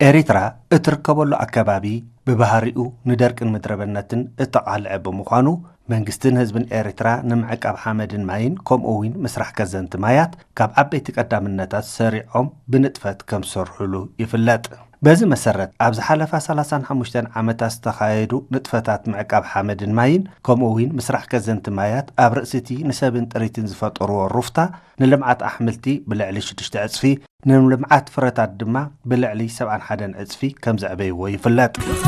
ኤሪትራ እትርከበሉ ኣከባቢ ብባህሪኡ ንደርቅን ምድረበነትን እተቓልዐ ብምዃኑ፣ መንግስትን ህዝብን ኤሪትራ ንምዕቃብ ሓመድን ማይን ከምኡ እውን ምስራሕ ከዘንቲ ማያት ካብ ዓበይቲ ቀዳምነታት ሰሪዖም ብንጥፈት ከም ዝሰርሑሉ ይፍለጥ። በዚ መሰረት ኣብ ዝሓለፋ ሰላሳን ሓሙሽተን ዓመታት ዝተኻየዱ ንጥፈታት ምዕቃብ ሓመድን ማይን ከምኡ እውን ምስራሕ ከዘንቲ ማያት ኣብ ርእሲቲ ንሰብን ጥሪትን ዝፈጠርዎ ሩፍታ ንልምዓት ኣሕምልቲ ብልዕሊ ሽዱሽተ ዕጽፊ፣ ንልምዓት ፍረታት ድማ ብልዕሊ ሰብዓን ሓደን ዕጽፊ ከም ዘዕበይዎ ይፍለጥ።